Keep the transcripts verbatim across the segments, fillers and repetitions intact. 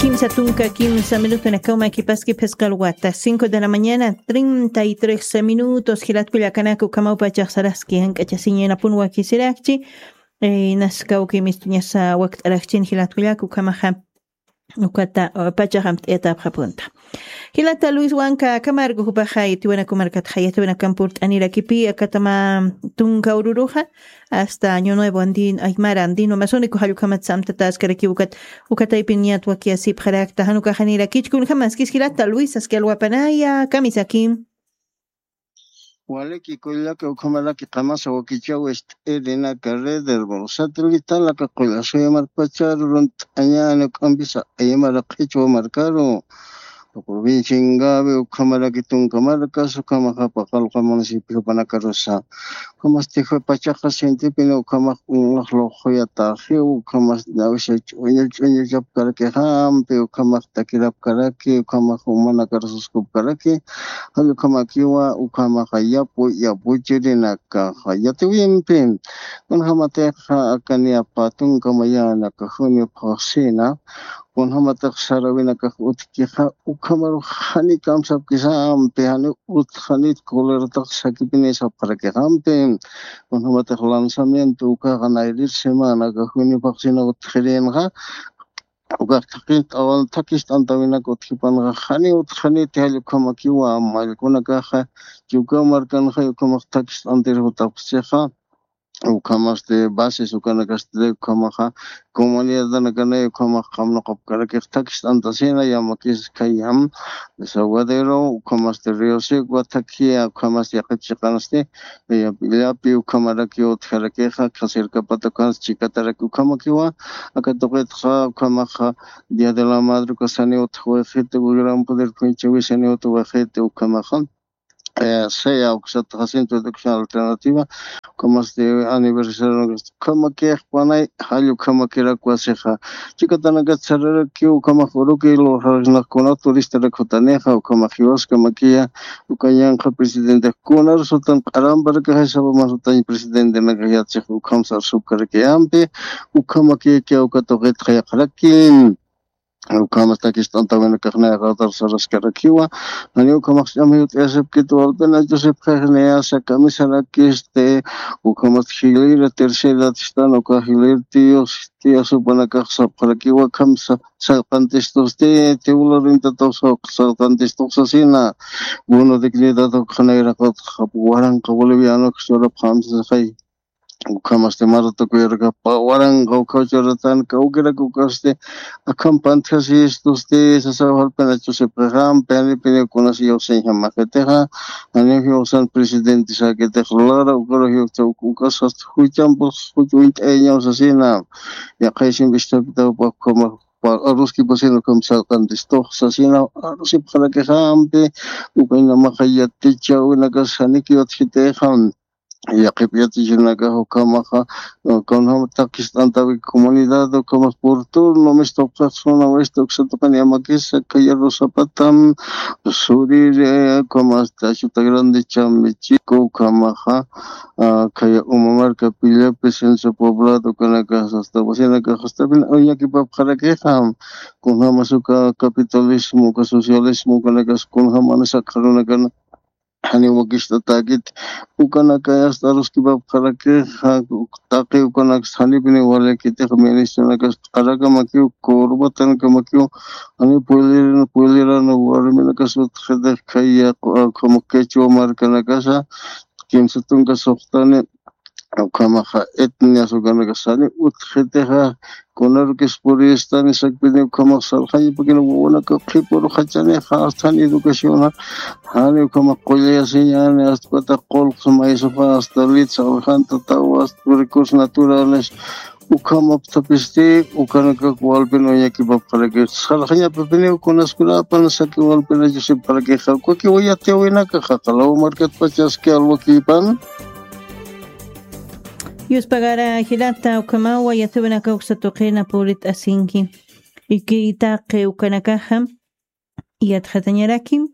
Kimsa tunka kimsa minuto nakawma kipaski phisqa alwata cinco de la mañana treinta y tres minutos. Jilatku llakanaka ukhamaw pachax saraski jank'achasiñanapun wakisirakchi. Naskawki mistuñasa wakt'arakchin jilatku llaka ukhamaxa ukata pachaxamt'ayatapxapunta. Jilata Luis Wanka, kamarku jupaxa yatiwanaku markatxa yatiwanakan purt'anirakipi akatama tunka ururuxa hasta año nuevo andin aymara andino masuniku jallukhamat samtataskarakiw ukat ukataypin ñatwakiyasipxarakta janukaxanirakichkun jamaskis jilata Luis aski alwapanaya kamisaki. Waliki kullaka ukhamaraki qamasa wakichaw ist'irinaka red hermano satelitalaka qullasuya markpacharu runt'añani uk'ampisa aymara qhichwa markaru provincia Ingavi ukhamaraki tunka markas ukhamaxa paqalqa municipio panakarusa ukhamasti pachaqa sintipini ukhamax unlax luquyataxiw ukhamas nawisa ch'uñu ch'uñu chapkarakixampi ukhamax takirapkaraki ukhamax umanakarusaskupkaraki. Jall ukhamakiwa ukhamaxa yapu yapuchirinakaxa yatiwimpi kunjamatixa akaniya patunka mayanaka juniopxaxsina kunjamatax sarawinakax utjkixa ukhamarux jani kamsapkisampi jani utjanit coleratax sakipini sapxarakixampi kunjamatax lanzamiento ukaxa nayrir semanaka juniopxaxsina utjirinxa ukax thakist'awan thakist'antawinak utjipanxa jani utjanit jall ukhamakiwa mallkunakaxa yukaw markanxa ukhamax thakist'antir jutapxchixa. Ukhamasti bases ukanakasti ukhamaxa comunidadanakanay ukhamax qamnuqapkarakix thakist'antasina yamakis khayam desaguadero ukhamasti río seco thakiya ukhamasti yaqip chiqansti llapi ukhamaraki utjarakixa khasirkapata ukhansti chikataraki ukhamakiwa. Aka tuqitxa ukhamaxa día de la madre ukasani utjawixiti gran poder khuychawisani utjawixiti ukhamaxa sea uksa jacinto de acción alternativa ukhamasti aniversario ukhamakix panay jall ukhamakirak wasixa chikatanakat sararakiw ukhamax uruki luxarasnaqkuna turistarak jutanixa ukhamax jiwaskamakiya. Ukañanqa presidente kunar sutan q'aramparakaxay sabaman sutañ presidentenakax yatsix ukham sarsupkarakiyampi ukhamakiyakiya uka tuqitxa yaqaraki ukhamas takist'antawinakaxnayaqatar saraskarakiwa. Jani ukhamax ch'amay ut'ayasipkit walpinachusipxixnayasa kamisarakisti ukhamas jilira tercera tistan uka jilir tiyus tiyasupanakax sapxarakiwa khamsa sallqantistusti tiwlurintatuxa salqantistuxsasina. Bono dignidad ukxanayraqatxa waranqa bolivianuksa churapxamsasixay ukhamasti maratukuyarakapa waranqa ukhaw churatan kawkirak ukasti akham pantjasistusti sasaw jalpinachusipxixampi janipiniw kunas iyawsañjamaxitixa. Janiw jiwsan presidente sakitix lara ukaru jiwsa ukasas juchampus juch uñt'ayañaw sasina yaqhaysin vistapitawpa ukhama aruskipasina ukham salqantistuxsasina arusipxarakixampi ukaynamaxa yatichawinakas janiki utjitixam. Yaqhip yatichawinakax ukhamaxa kunjama takist'antawi comunidad ukhamas por turno mistupxaxsuna wista uksatuqan yamakisa khayarusapatam suriri ukhamasta chuta grande chambichiku ukhamaxa khaya umamarka pillapi senso poblado ukanakax hasta wasinakax hasta fin uñakipapxarakixa. Kunjamas uka capitalismo uka socialismo ukanakas kunjamani sakxarunakana janiw wakist'atäkit ukanakay hasta aruskipapxarakixa. Taqi ukanaksa janipiniw walakitix ministranakas q'arakamakiw kurbatanakamakiw janiw puyliran puyliran warminakas utjitix khaya ukhama quechua markanakasa kimsa tunka suxtani ukhamaxa etnias ukanakas jani utjitixa kunarukis puristani sakpini ukhamax sarxañapakina wawanaka qhipurxachanixa hasta jani educaciona jani ukhamax qullayasiñani hasta ukatax qulqs maysuxa hasta litsa alxantataw hasta recursos naturales ukhamaptapisti ukanakak walpin uñakipapxaraki sarxañapapiniw kunaskunapan saki walpinachusipxarakixa ukakiwa yatiyawinakaxa qalaw markatpachaski alwakipan. Yuspagara jilata ukhamawa yatiyawinaka uksa tuqina purit'asinki. Iki taqi ukanakaxa yatxatañaraki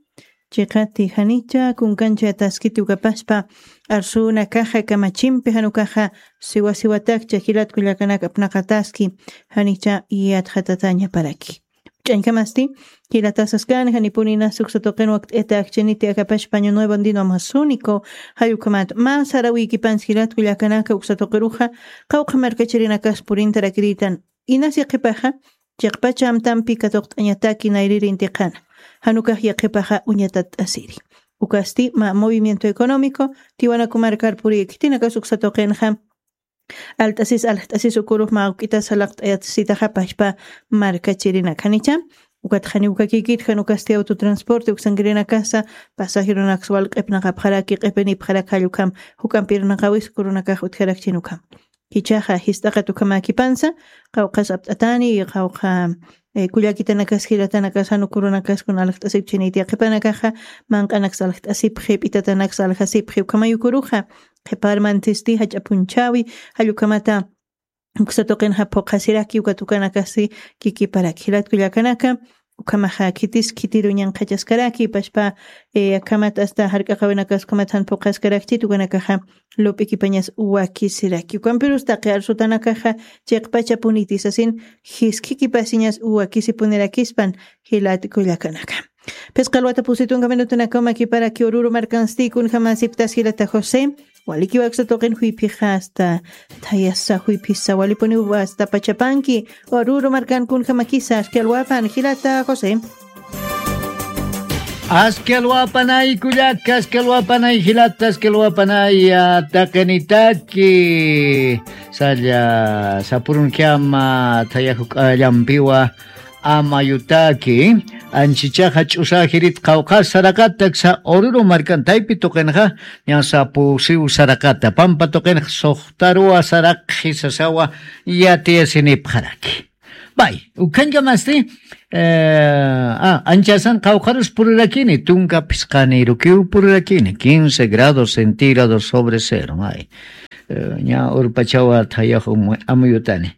chiqati janicha kunkancha taskiti ukapaspa arsunakaxa kamachimpi janukaxa siwasiwatakcha jilatku llakanaka apnaqataski janicha yatxatatañaparaki. Ch'añkamasti, jilatasaskan janipuninas uksa tuqin wakt'ita akchiniti akapash paño nuevo andino amazónico. Jallukhamat mä sarawiykipansi jilat kullakanaka uksa tuqiruxa qawqha markachirinakas purintarakiritan. Inasi qhipaxa chiqpacha amtampi katuqt'añataki nayririntiqana. Janukax yaqhipaxa uñatatt'asiri. Ukasti mä movimiento económico tiwanaku markar purïki tinakas uksa tuqinxa alt'asis aljt'asis ukurux mä awk'itas jalaqt'ayasitaxa pachpa markachirinakhanicha. Ukatxani ukakikit jan ukasti autotransporte uksankirinakasa pasajerunaksa wal q'ipnaqapxaraki q'ipinipxarak jallukam juk'ampirnaqawis ukurunakax utjarakchin ukham. Jichhaxa jist'aqat ukhamäkipansa qawqhas apt'atani qawqha kullakitanakas jilatanakas jan ukurunakaskun aljt'asipchiniti yaqhipanakaxa manq'anaksa aljt'asipxi p'itatanaksa aljasipxi ukhamay ukuruxa qhiparmantisti jach'a phunchhäwi jallukhamata uksa tuqinxa phuqhasiraki ukat ukanakasi kikiparaki jilat kullakanaka. Ukhamaxa khitis khitiru ñanqhachaskaraki pachpa akhamat asta jark'aqawinakas ukhamat jan phuqhaskarakchit ukanakaxa lup'ikipañas wakisiraki ukampirus taqi arsutanakaxa chiqpachapuniti sasin jiskhikipasiñas wakisipunirakispan jilat kullakanaka. Phisqa alwata pusi tunka minutunakaw makiparaki ururu markansti kunjamasiptas jilata josé. Walikiw aksa tuqin juyphixasta thayasa juyphisa walipuniw asta pachapanki ururu markan kunjamakisa aski alwapan jilata josé. Aski alwapanay kullaka aski alwapanay jilata aski alwapanay taqinitaki salla sapurunkiama thaya juk'allampiwa amayutaki anchichaxa ch'usajirit qawqhas saraqataksa ururu markan taypi tuqinxa ñasa pusiw saraqata pampa tuqinxa suxtaruwa saraqxi sasawa yatiyasinipxaraki. Bay ukhañkamasti anchasan qawqharus purirakini tunka phisqanirukiw purirakini quince grados centígrados sobre cero may ña urpachawa thayax amuyutani.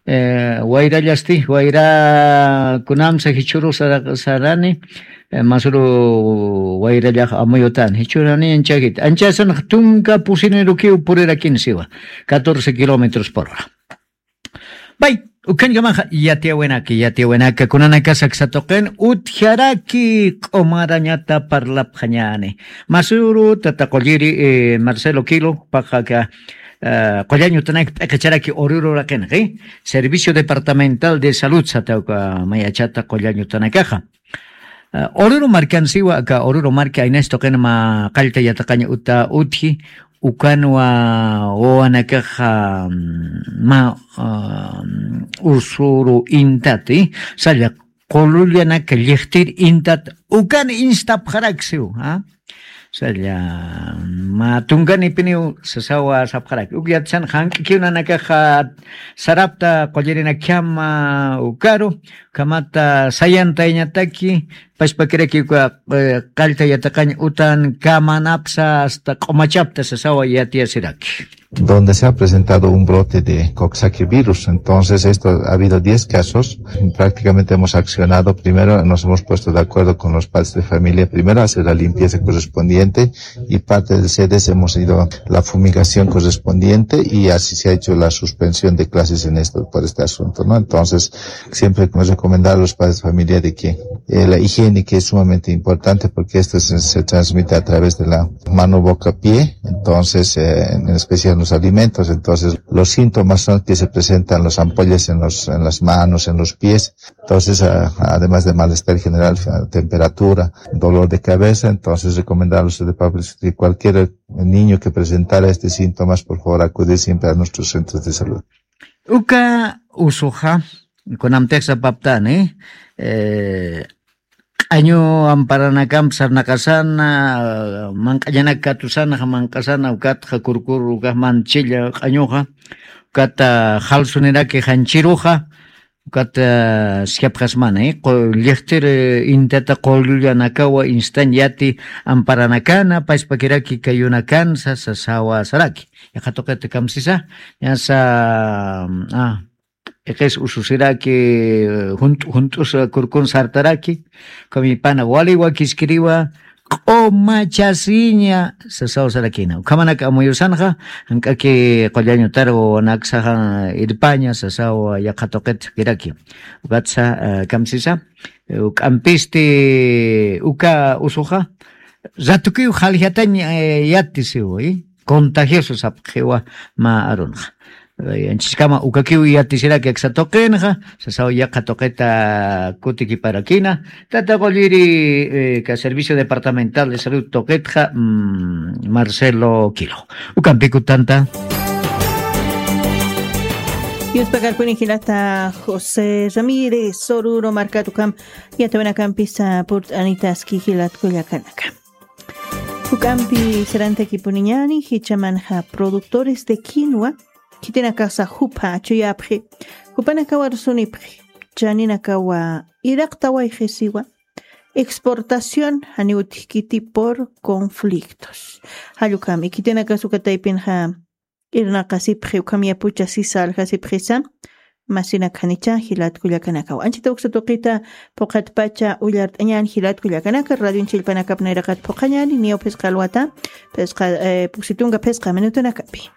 Wayrallasti wayra kunamsa jichhuru sarani masuru wayrallax amuyutani jichhurani anchakit anchasan tunka pusinirukiw purirakini siwa catorce kilómetros por hora. Bay ukhañkamaxa yatiyawinaka yatiyawinaka kunanakasa aksatuqin utjaraki q'umarañata parlapxañani. Masuru tata qulliri marcelo kilo paqa qullañ utanaka p'iqicharaki ururu raqinqi servicio departamental de salud satawka mayachata qullañ utanakaxa. Ururu markansiwa aka ururu marki aynas tuqin ma qallta yataqañ uta utji ukanwa wawanakaxa ma usuru intati salla qulullanaka lliqtir intat ukan instapxaraksiw. Salla ma tunkanipiniw sasawa sapxaraki uk yatisan jank'kiw nanakaxa sarapta qullirinakhama ukaru kamata sayantayañataki pachpakiraki uka qallta yataqañ utan kamanapsa asta q'umachapta sasawa yatiyasiraki. Donde se ha presentado un brote de coxsackie virus. Entonces, esto ha habido diez casos. Prácticamente hemos accionado. Primero nos hemos puesto de acuerdo con los padres de familia. Primero hacer la limpieza correspondiente y parte del C D S hemos ido la fumigación correspondiente y así se ha hecho la suspensión de clases en esto, por este asunto, ¿no? Entonces, siempre hemos recomendado a los padres de familia de que eh, la higiene, que es sumamente importante porque esto se, se transmite a través de la mano, boca, pie, entonces, eh, en especial los alimentos. Entonces, los síntomas son que se presentan las ampollas en los, en las manos, en los pies. Entonces, ah, además de malestar general, ah, temperatura, dolor de cabeza, entonces recomendarles de papel que cualquier niño que presentara estos síntomas, por favor, acudir siempre a nuestros centros de salud. Uka usuxa kunamtix sapaptani q'añu amparanakamp sarnaqasana manq'añanak katusanxa manq'asana ukatxa kurkur ukax manchilla q'añuxa ukata jalsuniraki janchiruxa ukata sijapxasmani lliqtir intata qullullanakawa instañ yati amparanakana pachpakiraki kayunakansa sasawa saraki. Yaqha tuqita kamsisa ñasa iqis ususiraki junt'u junt'us kurkun sartaraki kamipana wali wakiskiriwa q'umachasiña sasaw sarakina. Ukhamanak amuyusanxa, jank'aki qullañutar wawanaksaxa irpaña sasaw yaqha tuqit sakiraki. Ukatsa, eh, kamsisa, eh, uk'ampisti uka usuxa, ratukiw jaljatañ, eh, yatisiw, eh, contagioso sapxiwa mä arunxa. Eh, anchiskama ukakiw yatisiraki aksa tuqinxa, sasaw yaqha tuqita kutikiparakina, tata qulliri, eh, ka Servicio Departamental de Salud tuqitxa, mm, Marcelo Quilo. Ukampikutanta. Yuspakarpuni jilata José Ramírez, Soruro markat ukham yatawinakampisa purt'anitaski jilat kullakanaka. Juk'ampi sarantakipuniñani, jichamanxa productores de quinoa, khitinakasa jupha chuyapxi, jupanakawa rusunipxi, chaninakawa iraqtawayxisiwa, exportación janiw utjkiti por conflictos. Jallukami, khitinakasukataypinxa irnaqasipxi, ukham yapucha sisa aljasipxisa, masinak janicha jilat kullakanakawa. Anchita uksa tuqita phuqhatpacha ullart'añan jilat kullakanaka, radio chillpanakap nayraqat phuqhañani, niw phisqa alwata, phisqa, eh, puksitunka phisqa minutunakapi.